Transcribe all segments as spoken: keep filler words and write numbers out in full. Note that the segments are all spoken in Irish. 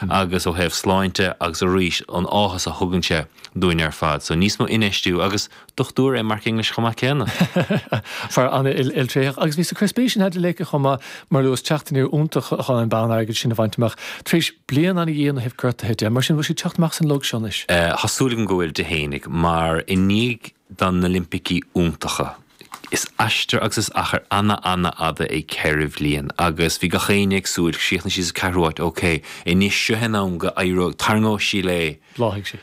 Agus ó thaobh sláinte agus arís an áthas a thugann sé dúinn ar fad. So níos mó infheistiú agus dochtúir é Mark English chomh maith céanna. Fear an-iltréitheach agus bhí sa cur spéis in Heidi Lake chomh maith mar luas teacht aniar iontach chun an bonn airgid sin a bhaint amach. Tar éis bliain an-dhian ó thaobh gortaithe de, mar sin bhfuil sí teacht amach as an log seo anois. Tá súil agam go bhfuil di fhéinig mar i ndiaidh do na Oilimpicí iontacha. Is aistear agus is achar ana-ana-fhada é ceithre bhliain agus bhí gach éinne ag súil, chríochnaigh sí sa ceathrú háit, ok, anois seo é an am go éireoidh, tarraingeoidh sí léi. Bhláthaigh sí.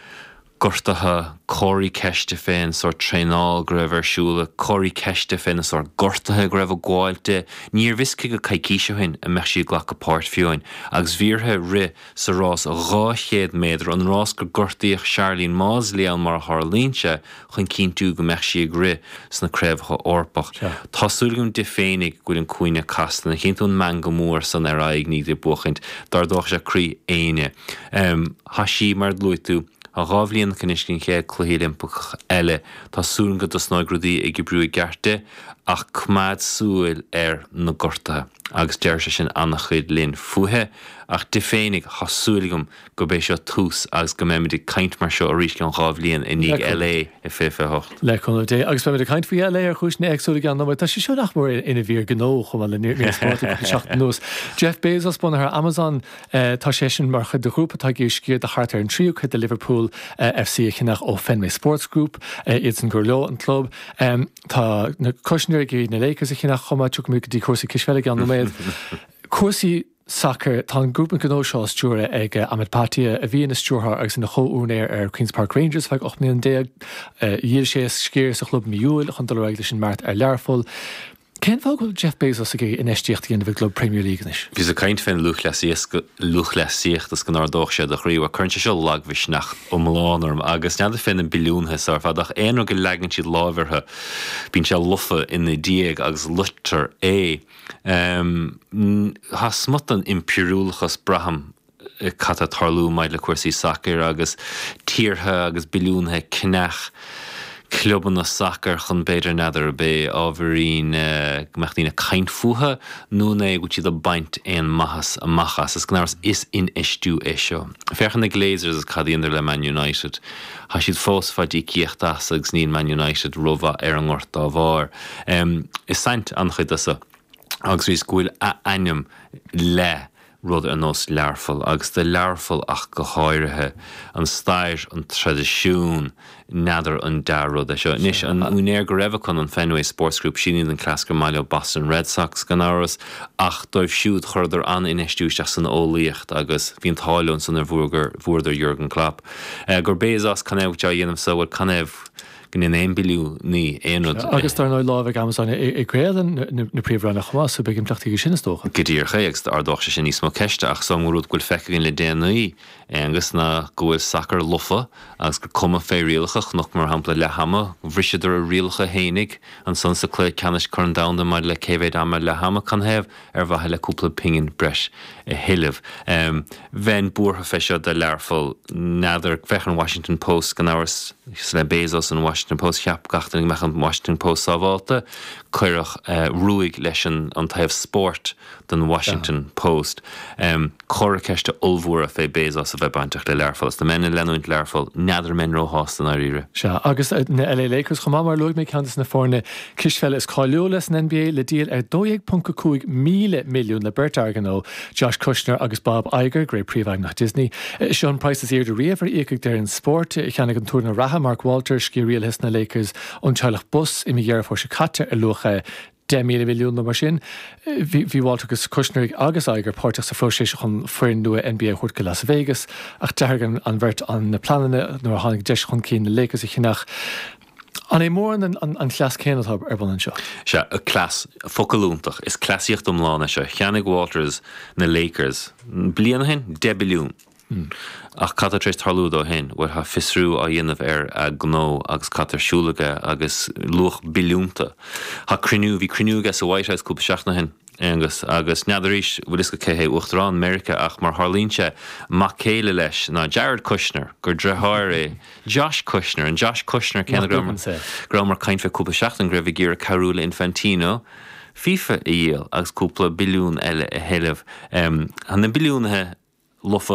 Gortaithe, comharthaí ceiste fén sórt traenáil go raibh ar siúl, comharthaí ceiste fé na sórt gortaithe go raibh ag gabháil di. Níorbh fhios cé go coicís ó shin an mbeadh sí ag glacadh páirt fiú amháin agus bhí uirthi rith sa rás dhá chéad méadar, an rás gur gortaíodh Sharlene Mawdsley ann mar a tharlaíonn sé, chun cinntiú go mbeadh sí ag rith sna Craobhacha Eorpach. Tá súil agam di féinig go bhfuil an cúinne casta. An chíonn tú an meangadh mór san ar a aghaidh i ndiaidh di buachaint? D'ardódh sé croí éinne. Tá sí, mar a luaigh tú, tá dhá bhliain aici anois don chéad Cluichí Oilimpeach eile. Tá súil agam go dtosnóidh rudaí ag oibriú i gceart di, ach coimeád súil ar na gortuithe agus deir sé sin an-chuid linn fúithi. Ach di féinig, tá súil agam gurb é seo tús agus go mbeimid ag caint mar seo arís ceann dhá bhliain i ndiaidh LA i fiche fiche hocht. Le cúnamh Dé. Agus beimid ag caint faoi LA ar chúiseanna éagsúla i gceann nóiméad. Tá sé seo nach mór ina mhír gnó chomh maith le mír spóirt le cúpla seachtain anuas. Jeff Bezos, bunaitheoir Amazon, tá seisean mar chuid de ghrúpa atá ag iarraidh sciar de thart ar an tríú cuid de Liverpool FC a cheannach ó Fenway Sports Group, iadsan gur leo an club. Tá na Kushner ag iarraidh na Lakers a cheannach chomh maith, tiocfaimid go dtí cúrsaí cispheile i gceann nóiméad. Cúrsaí sacair, tá an grúpa gnó seo á stiúradh ag Amit Bhatia, a bhí ina stiúrthóir agus ina chomh-úinéir ar Queen's Park Rangers feadh ocht mbliana déag. Dhíol sé a sciar sa chlub mí Iúil chun dul ar aghaidh leis an mbeart ar Learpholl. Cén fáth go bhfuil Jeff Bezos ag iarraidh infheistíocht a dhéanamh i gclub Premier League anois? Bhíos ag caint fén lúthchleasaíocht is go n-ardódh sé do chroí. Bhuel, cuireann sé seo lagmhisneach iomlán orm agus n'fheadar fé na billiúnaithe so ar fad ach aon rud go leagann siad láimh orthu bíonn sé lofa ina diaidh agus loitear é. Tá smut den impiriúlachas, braithim, cad tá ag tarlú maidir le cúrsaí sacair agus tíortha agus billiúnaithe ag ceannach clubanna sacair chun b'fhéidir n'fheadar ab é ábhairín go mbeadh daoine ag caint fúthu nó an é go bhfuil siad ag baint aon maitheas amach as. Is gan amhras is infheistiú é seo. Féach ar na Glazers agus cad a dheineadar le Man United. Tá siad fós ag fáil íocaíocht as agus níl Man United rómhaith ar an ngort dá bharr. Is saint an-chuid de seo agus arís go bhfuil a ainm le rud ar nós Learpholl, agus do Learpholl ach go háirithe, an stair, an traidisiún, n'fheadar an dea-rud é seo. Anois, an úinéir go raibh acu, an Fenway Sports Group, sin iad an cleas gur maith leo Boston Red Sox, gan amhras, ach dóibh siúd, chuireadar an-infheistiú isteach san eolaíocht agus bhí an t-ádh leo ansan nuair a bhuadar Jurgen Klopp. Gur Bezos, canathaobh go bhfuil sé á dhéanamh so, bhuel, canathaobh go ndéanann aon billiúnaí aon rud. Agus dar ndóigh lámh ag Amazon i gcraoladh na Príomhroinne chomh maith, so beidh impleachtaí aige sin is dócha. Go díreach é, agus d'ardódh sé sin níos mó ceiste, ach is iomaí rud go bhfuil feicthe againn le déanaí, Aonghus, ná go bhfuil sacar lofa agus gur cuma fé rialacha, chonac mar shampla leath ama, bhriseadar a rialacha fhéinig ansan sa cluiche ceannais Corn Domhanda maidir le cé mhéid ama leath ama, canathaobh? Ar mhaithe le cúpla pingin breis a thuilleamh. Bheinn buartha fé seo do Learpholl. N'fheadar, féach ar an Washington Post, gan amhras, is le Bezos an Washington Post, cheap gach duine go mbeadh an Washington Post sábhálta. Cuireadh ruaig leis an taobh spóirt den Washington Post. Comhartha ceiste ollmhóra fé Bezos a bheith bainteach le Learpholl. Is dá mbeinn ag leanúint Learpholl, n'fheadar an mbeinn róshásta i ndáiríre. Sea, agus na LA Lakers chomh maith, mar a luaigh mé, ceann de na foirne cispheile is cáiliúla san NBA, le díol ar dó dhéag ponc a cúig míle milliún le beirt fhear gnó, Josh Kushner agus Bob Iger, gur é príomhfheidhmeannach Disney. Seo an praghas is airde riamh ar íocadh d'fhoireann spóirt. Cheannaigh an t-úinéir reatha, Mark Walters, sciar rialaithe sna Lakers ón teaghlach Buss i mí Dheireadh Fómhair seo caite ar luach deich míle milliún nó mar sin. Bhí Walters agus Kushner agus Iger páirteach sa phróiseas chun foireann nua NBA a thabhairt go Las Vegas ach d'athraigh an bheirt na pleananna nuair a tháinig deis chun cinn na Lakers a cheannach. An é mórán an cleas céanna atá ar bun anseo? Sea, cleas, focal iontach. Is cleasaíocht iomlán é seo. Cheannaigh Walters na Lakers bliain ó shin, deich billiún. Ach cad tá tar éis tarlú dó shin? Bhuel, tá fiosrú á dhéanamh ar a ghnó agus cad tá ar siúl aige agus luach billiúnta. Tá cruinniú, bhí cruinniú aige sa White House cúpla seachtain ó shin, Aonghus, agus n'fheadar arís bhfuil fhios agat cé hé Uachtarán Meiriceá ach mar tharlaíonn sé, mac céile leis ná Jared Kushner, gur deartháir é Josh Kushner, an Josh Kushner céanna go rabhamar ag caint fé cúpla seachtain go raibh ag iarraidh cabhrú le Infantino FIFA a dhíol agus cúpla billiún eile a thuilleamh. Tá na billiúnaithe lofa.